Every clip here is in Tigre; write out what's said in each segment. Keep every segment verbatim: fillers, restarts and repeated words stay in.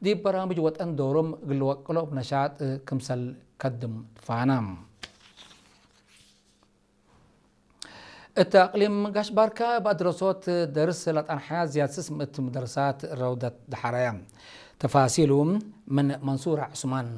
ዲብ በራምጅ ወጠን ዶሮም እግል ልወቅሎ እብ ነሻጥ ክምሰል ከድም ትፋና። እት አቅሊም ጋሽ ባርካ እብ አድረሶት ደርስ ለጠንሐያ ዝያድ ስስ ምእት መደርሳት ረውደት ደሐረያ። ተፋሲሉ ምን መንሱር ዑስማን።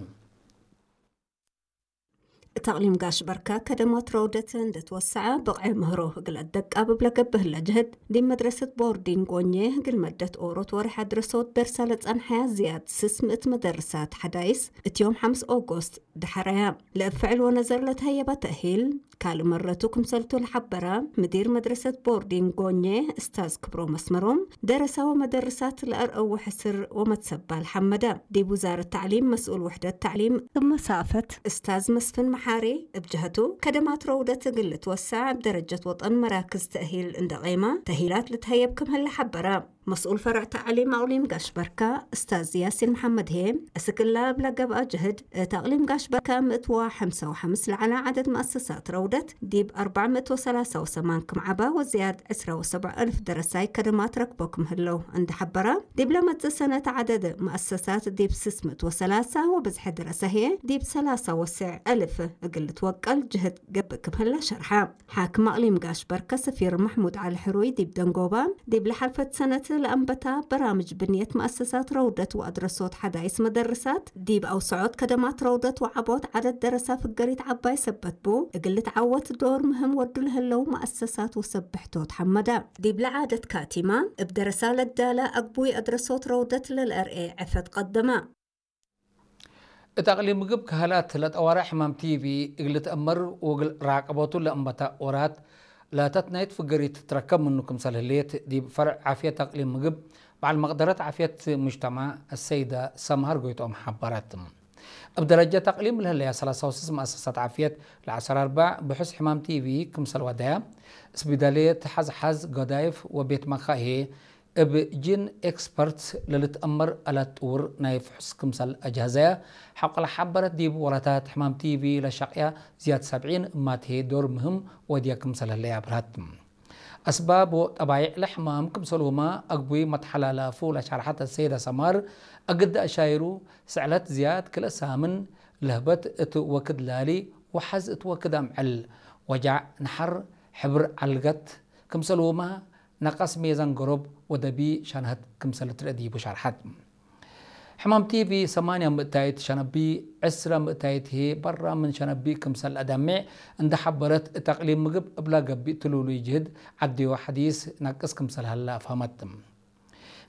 እት አቅሊም ጋሽ በርካ ከደማት ረውደት እንዴ ትወሰዐ ብቅዕ ምህሮ እግል አደቃብብ ለገብእ ህለ ጀህድ፣ ዲብ መድረሰት ቦርዲንግ ጎኜ እግል መደት ኦሮት ወሬሕ አድረሶት ደርሰ ለጸንሐያ ዝያድ ስስ ምእት መደርሳት ሐዳይስ እት ዮም ሐምስ ኦጎስት ደሐረያ። ለእብ ፍዕል ወነዘር ለተሀየበ ተእሂል፣ ካልእ መረቱ ክምሰልቱ ለሐበረ፣ ምዲር መድረሰት ቦርዲንግ ጎኜ እስታዝ ክብሮም አስመሮም፣ ደረሰ ወመደርሳት ለአርአው ሕስር ወመትሰባል ሐመደ። ዲብ ውዛረት ተዕሊም መስኡል ውሕደት ተዕሊም እብ መሳፈት እስታዝ መስፍን መሓሪ እብ ጀሀቱ፣ ከደማት ረውደት እግል ልትወሰዕ እብ ደረጀት ወጠን መራክዝ ተእሂል እንዴ ቄመ፣ ተእሂላት ልትሀየብ ክም ህለ ሐበረ። መስኡል ፈርዕ ተዕሊም አቅሊም ጋሽ በርካ እስታዝ ያሲን መሐመድ ህዬ፣ እስክ እለ እብለ ገብአ ጀህድ፣ እት አቅሊም ጋሽ በርካ ምእት ወሐምሳ ወሐምስ ለዐለ ዐደድ መአሰሳት ረውደት ዲብ አርበዕ ምእት ወሰላሳ ወሰማን ክም ዐባ ወዝያድ ዕስራ ወሰብዕ አልፍ ደረሳይ ከደማት ረክቦ ክም ህለው እንዴ ሐበረ፣ ዲብለ መጽእ ሰነት ዐደድ መአሰሳት ዲብ ስስ ምእት ወሰላሳ ወብዝሐ ደረሰ ህዬ ዲብ ሰላሳ ወሰዕ አልፍ እግል ልትወቀል ጀህድ ገብእ ክም ህለ ሸርሐ። ሓክም አቅሊም ጋሽ በርከ ሰፊር መሕሙድ ዐሊ ሕሩይ ዲብ ደንጎባ፣ ዲብ ለሐልፈት ሰነት ለአንበታ በራምጅ ብንየት መአሰሳት ረውደት ወአድረሶት ሐዳይስ መደርሳት፣ ዲብ አውሰዖት ከደማት ረውደት ወዐቦት ዐደድ ደረሳ ፍገሪት ዐባይ ሰበት ቡ፣ እግል ልትዓወት ዶር ምህም ወዱ ለህለው መአሰሳት ወሰብሕቶት ሐመደ። ዲብለ ዐደት ካቲማ፣ እብ ደረሳ ለዳለ አግቡይ አድረሶት ረውደት ለልአርኤ ዕፈት ቀደመ። እት አቅሊም ምግብ ከህላት ለጠዋርዕ ሕማም ቲቪ እግል ልትአመር ወእግል ራቀቦቱ ለአንበታ ወራት ለተትናይት ፍገሪት ትትረከብ ምኑ ክምሰል ህሌት፣ ዲብ ፈርዕ ዓፍየት አቅሊም ምግብ በዐል መቅደረት ዓፍየት ሙጅተማዕ አሰይደ ሰምሀር ጎይትኦም ሐበረት። እብ ደረጀት አቅሊም ለህለያ ሰላሳ ወስስ መአሰሳት ዓፍየት ለዐሰር አርበዕ ብሑስ ሕማም ቲቪ ክምሰል ወደያ፣ እስቢዳልየት ሐዝሐዝ፣ ገዳይፍ ወቤት መካሄ እብ ጂን ኤክስፐርት ለልትአመር አላት ጥውር ናይ ፍሑስ ክምሰል አጅሀዘያ ሐቆ ለሐበረት፣ ዲብ ወራታት ሕማም ቲቪ ለሸቅያ ዝያድ ሰብዒን እማት ህዬ ዶር ምህም ወድየ ክምሰል ህለየ አብርሀት። አስባብ ወጠባይዕ ለሕማም ክምሰልሁመ አግቡይ መትሐላላፉ ለሸርሐት አሰይደ ሰማር፣ አግደ አሻይሩ፣ ስዕለት ዝያድ ክልኤ ሳምን ለህበት እት ወክድ ላሊ ወሐዝ እት ወክድ አምዕል፣ ወጃዕ ነሐር፣ ሕብር ዐልገት፣ ክምሰልሁመ ነቀስ ሜዛን ገሮብ ወደቢ ሸንሀት ክምሰል ልትርኤ ዲቡ ሸርሐት። ሕማም ቲቪ ሰማንያ ምእታይት ሸነቢ፣ ዕስረ ምእታይት ህዬ በራ ምን ሸነቢ ክምሰል ለአደሜዕ እንዴ ሐበረት፣ እት አቅሊም ምግብ እብላ ገብእ ትሉሉይ ጅህድ ዐድዮ ሐዲስ ነቅስ ክምሰል ሀለ አፍሀመት።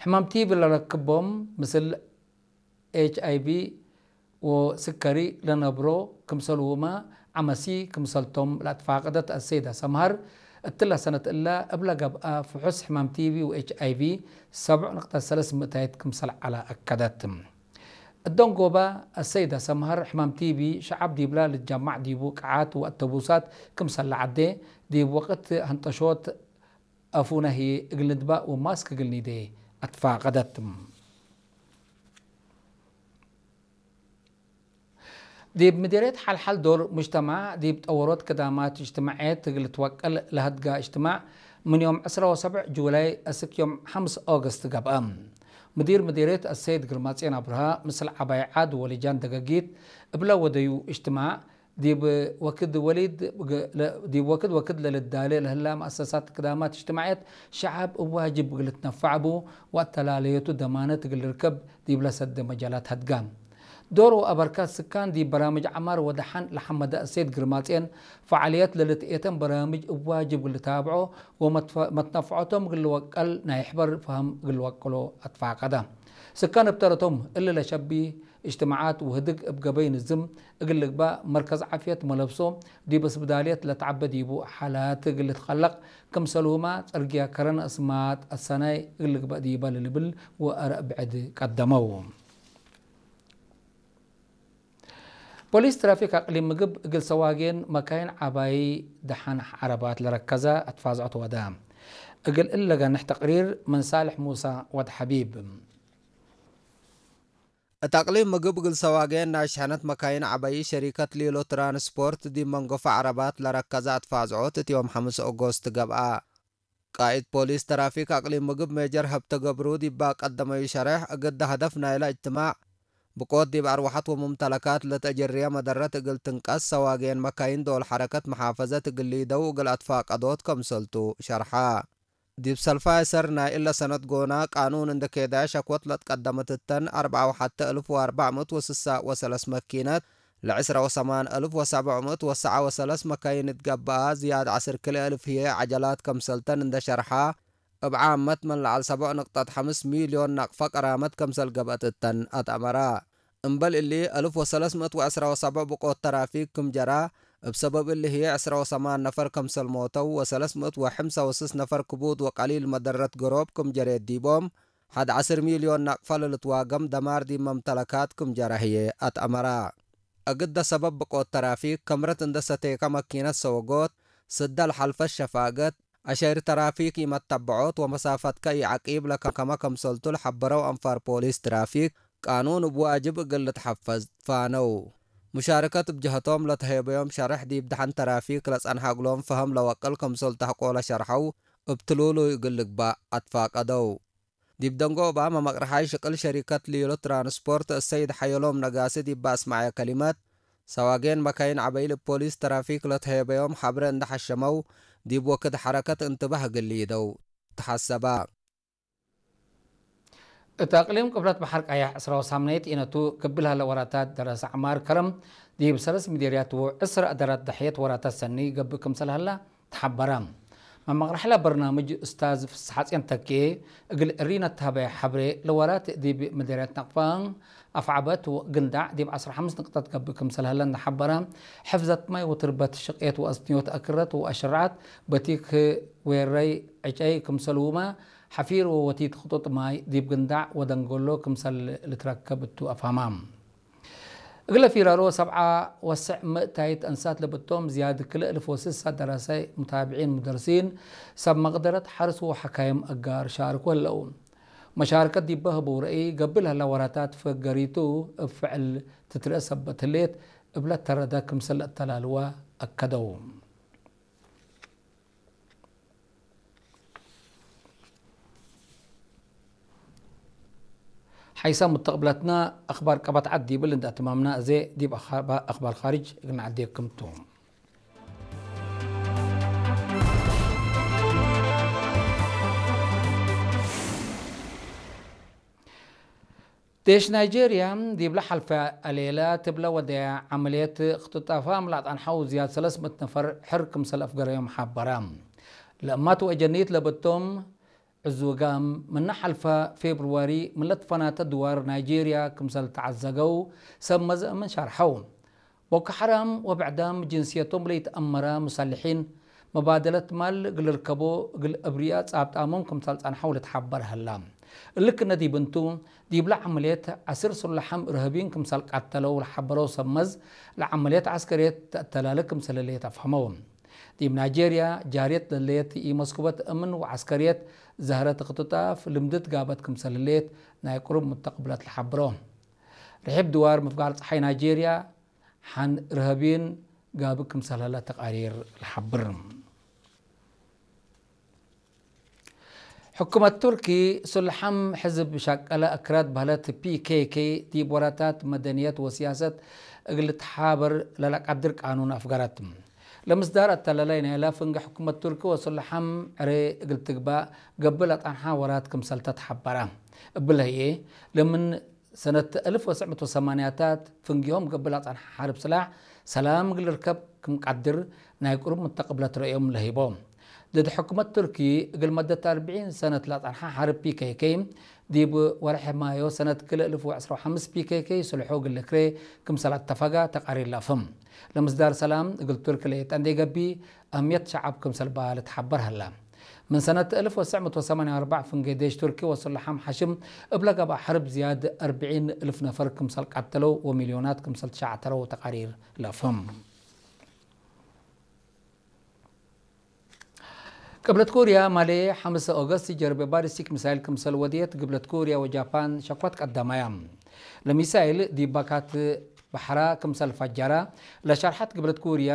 ሕማም ቲቪ ለረክቦም ምስል ኤች አይ ቪ ወስከሪ ለነብሮ ክምሰልሁመ ዐመሲ ክምሰልቶም ለአትፋቀደት አሰይደ ሰምሀር፣ እትለ ሰነት እለ እብለ ገብአ ፍሑስ ሕማም ቲቪ ወኤች አይ ቪ ሰብዕ ንቅጠት ሰለስ ምእታይት ክምሰል ዐለ አከደት። እት ደንጎባ አሰይደ ሰምሀር፣ ሕማም ቲቪ ሸዐብ ዲብላ ልትጀማዕ ዲቡ ቅዓት ወአተቡሳት ክምሰል ለዐዴ፣ ዲብ ወቅት ሀንጠሾት አፉነ ህዬ እግል ንድባእ ወማስክ እግል ኒዴ አትፋቀደት። ዲብ ምዲርየት ሐልሐል ዶር ሙጅተማዕ ዲብ ጠወሮት ክዳማት እጅትማዕየት እግል ልትወቀል ለሀድጋ እጅትማዕ፣ ምን ዮም ዕስራ ወሰብዕ ጁላይ አስክ ዮም ሐምስ ኦገስት ገብአ። ምዲር ምዲርየት አሰይድ ግርማጽዮን አብርሃ፣ ምስል ዐባይ ዓድ ወልጃን ደገጊት እብለ ወደዩ እጅትማዕ፣ ዲብ ወክድ ወሊድ፣ ዲብ ወክድ ወክድ ለልዳሌ ለህላ መአሰሳት ክዳማት እጅትማዕየት፣ ሸዐብ እብ ዋጅብ እግል ልትነፈዕ ቡ፣ ወአተላለየቱ ደማነት እግል ልርከብ ዲብለ ሰደ መጃላት ሀድጋ። ዶር ወአበርካት ስካን ዲብ በራምጅ ዐማር ወደሐን ለሐመደ አሰይድ ግርማጽዮን፣ ፈዓልየት ለልትኤተን በራምጅ እብ ዋጅብ እግል ልታብዖ ወመትነፈዖቶም እግል ልወቀል ናይ ሕበር ፈሀም እግል ልወቅሎ አትፋቀደ። ስካን እብ ተረቶም፣ እሊ ለሸቢ እጅትማዓት ወህድግ እብ ገበይ ንዝም እግል ልግባእ መርከዝ ዓፍየት መለብሶ ዲብ እስብዳልየት ለተዐበ ዲቡ ሓላት እግል ልትከለቅ ክምሰልሁመ፣ ጽርግየ ከረን አስማጥ አሰናይ እግል ልግባእ ዲበ ለልብል ወአረእ ብዕድ ቀደመው። ፖሊስ ትራፊክ አቅሊም ምግብ እግል ሰዋጌን መካይን ዐባይ ደሐን ዐረባት ለረከዘ አትፋዝዖት ወደ። እግል እለ ገንሕ ተቅሪር ምን ሳልሕ ሙሳ ወድ ሐቢብ። እት አቅሊም ምግብ እግል ሰዋጌን ናይ ሸሕነት መካይን ዐባይ ሸሪከት ሊሎ ትራንስፖርት ዲብ መንጎፈ ዐረባት ለረከዘ አትፋዝዖት እት ዮም ሐምስ ኦጎስት ገብአ። ቃእድ ፖሊስ ተራፊክ አቅሊም ምግብ ሜጀር ሀብተ ገብሩ ዲብ ቀደመዩ ሸሬሕ፣ እግደ ሀደፍ ናይለ እጅትማዕ ብቆት ዲብ አርወሐት ወሙምተለካት ለተአጀርየ መደረት እግል ትንቀስ፣ ሰዋጌን መካይን ዶል ሐረከት መሓፈዘት እግል ሊደው እግል አትፋቀዶት ከምሰልቱ ሸርሐ። ዲብ ሰልፋይ ሰር ናይ እለ ሰነት ጎና ቃኑን እንደ ኬዳይ ሸክወት ለትቀደመት እተን፣ አርበዓ ወሐተ እልፍ ወአርበዕ ምእት ወስሳ ወሰለስ መኪነት፣ ለዕስረ ወሰማን እልፍ ወሰብዕ ምእት ወሰዓ ወሰለስ መካይን እት ገብአ፣ ዝያድ ዐስር ክልኤ እልፍ ህዬ ዐጀላት ከምሰልተን እንደ ሸርሐ፣ እብ ዓመት ምን ለዐል ሰቦዕ ንቅጠት ሐምስ ሚልዮን ናቅፈ ቀራመት ከምሰል ገብአት እተን አትአመራ። እምበል እሊ፣ እልፍ ወሰለስ ምእት ወዕስረ ወሰብዕ ብቆት ተራፊክ ክም ጀራ፣ እብ ሰበብ እሊ ህዬ ዕስረ ወሰማን ነፈር ከምሰል ሞተው ወሰለስ ምእት ወሐምሳ ወስስ ነፈር ክቡድ ወቀሊል መደረት ገሮብ ክም ጀሬት ዲቦም፣ ሐድ ዐስር ሚልዮን ናቅፈ ለልትዋገም ደማር ዲብ መምተለካት ክም ጀረ ህዬ አትአመራ። እግደ ሰበብ ብቆት ተራፊክ፣ ከምረት እንደ ሰቴከ መኪነት ሰወጎት፣ ስደ ለሐልፈት ሸፋገት፣ አሸይር ተራፊክ ኢመተበዖት ወመሳፈትከ ኢዐቂብ ለከከመ ከምሰልቱ ለሐበረው አንፋር ፖሊስ ትራፊክ፣ ቃኑን እብ ዋጅብ እግል ልትሐፈዝ ፋነው። ሙሻርከት እብ ጀሀቶም ለተሄበዮም ሸርሕ ዲብ ደሐን ተራፊክ ለጸንሐ እግሎም ፈሀም ለወቅል ከምሰልቱ ሐቆለ ሸርሐው፣ እብ ትሉሉይ እግል ልግባእ አትፋቀደው። ዲብ ደንጎ እባመ መቅርሓይ ሽቅል ሸሪከት ሊሎ ትራንስፖርት እሰይድ ሐየሎም ነጋሲ ዲብ አስመዐየ ከሊመት፣ ሰዋጌን መካይን ዐበይል እብ ፖሊስ ተራፊክ ለተሄበዮም ሐብረ እንደ ሐሸመው፣ ዲብ ወክድ ሐረከት እንትባህ እግል ሊደው ተሐሰባ። እት አቅሊም ቅብለት በሐር ቀያሕ ዕስራ ወሳምናይት ኢነቱ ክብል ሀለ ወራታት ደረሰ ዐማር ከረም ዲብ ሰለስ ምዴርያት ወዕስር አደራት ደሕየት ወራታት ሰኒ ገብእ ክምሰል ሀላ ተሐበረ። መመቅረሐለ በርናምጅ ኡስታዝ ፍስሐጼን ተኬ እግል እሪነ ተሀበየ ሐብሬ፣ ለወራት ዲብ ምዴርያት ነቅፋ፣ አፍዐበት ወግንዳዕ ዲብ ዐስር ሐምስ ንቅጠት ገብእ ክምሰል ሀለ እንደ ሐበረ፣ ሕፍዘት ማይ ወትርበት ሽቄት ወአስንዮት አክረት ወአሽራዓት በቲክ ዌረይ ዕጨይ ክምሰልሁመ፣ ሐፊር ወወቲት ክጡጥ ማይ ዲብ ግንዳዕ ወደንጎሎ ክምሰል ልትረከብ እቱ አፍሀማ። እግለ ፊራሮ ሰብዓ ወሰዕ ምእታይት አንሳት ለብቶም ዝያድ ክልኤ እልፍ ወስሳ ደራሳይ፣ ሙታብዒን፣ ሙደርሲን፣ ሰብ መቅደረት ሐርስ ወሐካይም አጋር ሻርኮ ህለው። መሻርከት ዲበ ህበው ረአይ ገብእ ለህላ ወራታት ፈገሪቱ እብ ፍዕል ትትረአ ሰበት ህሌት እብለ ተረደ ክምሰል ለአተላልዋ አከደው። ሐይሰ ሙተቅብለትነ አክባር ቀበት ዐድ ዲብል እንደ አትማምነ፣ አዜ ዲብ አክባ-፣ አክባር ካርጅ እግል ነዐዴኩም ቱ። ዴሽ ናይጄርያ ዲብለ ሐልፈ አሌለ ትብለ ወደየ ዐመልየት እክትጣፋም ለአጠንሐው ዝያድ ሰለስ ምእት ነፈር ሕር ክምሰል አፍገረዮም ሐበረ። ለእማት ወአጀኒት ለበቶም ዕዙጋም ምነ ሐልፈ ፌብርዋሪ ምን ለትፈናተ ድዋር ናይጄርያ ክምሰል ተዐዘገው ሰብ መዘእ ምን ሸርሐው። ቦኮ ሐራም ወብዕዳም ጅንስየቶም ለኢተአመረ ሙሰልሒን፣ መባደለት ማል እግል ልርከቦ እግል አብርያ ጻብጣሞም ክምሰል ጸንሐው ልትሐበር ሀላ። እሊ ክነ ዲብ እንቱ፣ ዲብለ ዐመልየት ዐስር ሱላሐም እርሃብይን ክምሰል ቀተለው ለሐበረው ሰብ መዝ፣ ለዐመልየት ዐስከርየት ተአተላለ ክምሰል ህሌት አፍሀመው። ዲብ ናይጄርያ ጃርየት ለህሌት ኢመስኩበት እምን ወዐስከርየት ዘህረት እክትጣፍ ልምድት ጋበት ክምሰል ህሌት ናይ ቅሩብ ሙተቅብለት ለሐብሮ። ርሒብ ድዋር ምፍጋር ጸሓይ ናይጄርያ ሐን እርሃብይን ጋብእ ክምሰል ሀለ ተቃሪር ለሐብር። ሕኩመት ቱርኪ፣ ሱልሐም ሕዝብ ሸቀለ አክራድ በህለት ፒ ኬ ኬ ዲብ ወራታት መደንየት ወስያሰት እግል ልትሓበር ለለቀድር ቃኑን አፍገረት። ለምስዳር አተላላይ ናይለ ፍንጌ ሕኩመት ቱርኪ ወሱልሐም ዕሬ እግል ትግባእ ገብእ ለጸንሐ ወራት ክምሰልተ ተሐበረ። እብለ ህዬ፣ ለምን ሰነት አልፍ ወትሰዕ ምእት ወሰማንያታት ፍንጌሆም ገብእ ለጸንሐ ሐርብ ስላሕ ሰላም እግል ልርከብ ክም ቀድር ናይ ቅሩብ ሙተቅብለት ረአዮም ለህይቦ። ድድ ሕኩመት ቱርኪ እግል መደት አርብዒን ሰነት ለጸንሐ ሐርብ ፒ ኬ ኬ ዲብ ወርሕ ማዮ ሰነት ክልኤ አልፍ ወዕስራ ወሐምስ ፒ ኬ ኬ ስልሑ እግል ልክሬ ክምሰል አተፈጋ ተቃሪር ለአፍህም። ለምስዳር ሰላም እግል ቱርኪ ለኢጠንዴ ገብእ አህምየት ሸዐብ ክምሰል በ ልትሐበር ሀላ። ምን ሰነት አልፍ ወትሰዕ ምእት ወሰማንያ ወአርበዕ ፍንጌ ዴሽ ቱርኪ ወሱላሐም ሐሽም እብ ለገብአ ሐርብ ዝያድ አርብዒን እልፍ ነፈር ክምሰል ቀተለው ወሚልዮናት ክምሰል ትሸዕተረው ተቃሪር ለአፍህም። ቅብለት ኮርያ ማሌ ሐምሰ ኦገስት ጀርቤ ባሊስቲክ ሚሳይል ክምሰል ወድየት፣ ግብለት ኮርያ ወጃፓን ሸኮት ቀደማያ። ለሚሳይል ዲብ ባካት በሐራ ክምሰል ፈጀረ ለሸርሐት ግብለት ኮርያ፣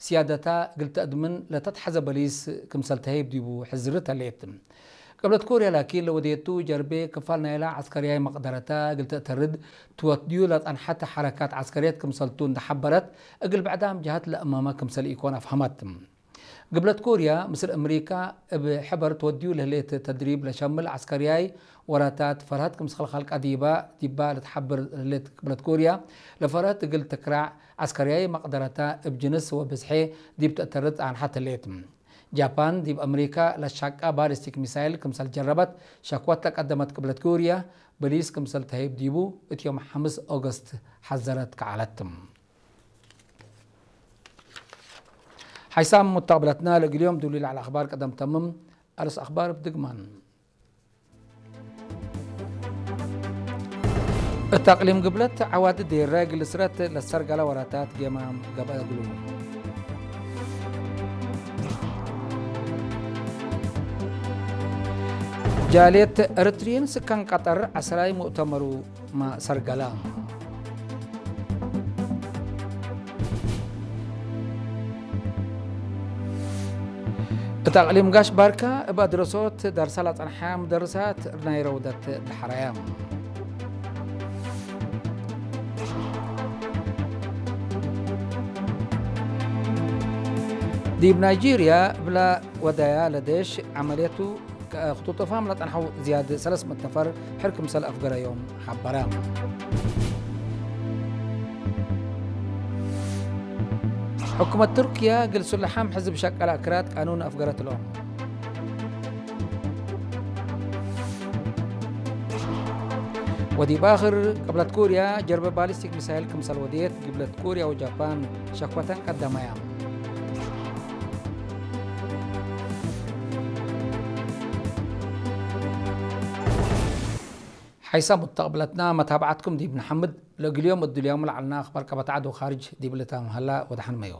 ስያደታ እግል ተአድምን ለተትሐዘ በሊስ ክምሰል ተሀይብ ዲቡ ሕዝርት ህሌት። ቅብለት ኮርያ ላኪን ለወዴቱ ጀርቤ ክፋል ናይላ ዐስከርያይ መቅደረተ እግል ተአተርድ ትወድዩ ለጸንሐት ሐረካት ዐስከርየት ክምሰልቱ እንደ ሐበረት፣ እግል ብዕዳም ጀሀት ለእመመ ክምሰል ኢኮን አፍሀመት። ግብለት ኮርያ ምስል አምሪካ እብ ሕበር ትወድዩ ለህሌት ተድሪብ ለሸምል ዐስከርያይ ወራታት ፈርሀት ክምሰል ኸልቀ ዲባ፣ ዲባ ለትሐብር ህሌት ግብለት ኮርያ፣ ለፈርሀት እግል ትክራዕ ዐስከርያይ መቅደረተ እብ ጅንስ ወብዝሔ ዲብ ተአተርድ ጸንሐት ህሌት። ጃፓን ዲብ አምሪካ ለትሸቀ ባሊስቲክ ሚሳይል ክምሰል ጀረበት ሸክወት ለቀደመት ቅብለት ኮርያ፣ በሊስ ክምሰል ተሀይብ ዲቡ እት ዮም ሐምስ ኦገስት ሐዘረት ከዐለት። ሐይሳም ሙተቅብለትና ለእግል ዮም ዱሊ ለዐለ አኽባር ቀደም ተምም። አርስ አኽባር እብ ድግማን። እት አቅሊም ግብለት ዐዋዲ ዴረ እግል እስረት ለሰርገለ ወራታት ጌማም ገብአ እግሉ። ጃልየት ኤረትርዪን ስካን ቀጠር ዐስራይ ሙእተመሩ ማ ሰርገለ። እት አቅሊም ጋሽ ባርካ እብ አድረሶት ደርሰ ለጸንሐ ሙደርሳት ናይ ረውደት ደሐረየ። ዲብ ናይጄርያ እብለ ወደያ ለዴሽ ዐመልየቱ ከ-፣ ክጡጥ እፋም ለጠንሐው ዝያድ ሰለስ ምእት ነፈር ሕር ክምሰል አፍገረዮም ሐበረ። ሕኩመት ቱርክየ እግል ሱለሓም ሕዝብ ሸቀለ አክራድ ቃኑን አፍገረት እሎም። ወዲብ አክር፣ ቅብለት ኮርያ ጀርበ ባሊስቲክ ሚሳይል ክምሰል ወድየት፣ ግብለት ኮርያ ወጃፓን ሸክወተን ቀደመያ። ሐይሳም ሙተቅብለትና መታብዐትኩም ዲብ ነሐምድ። ለእግል ዮም እድልዮም ለዐልና አኽባር ቀበት ዐድ ወካርጅ ዲብ ልታም ሀላ ወደሐን መዮ።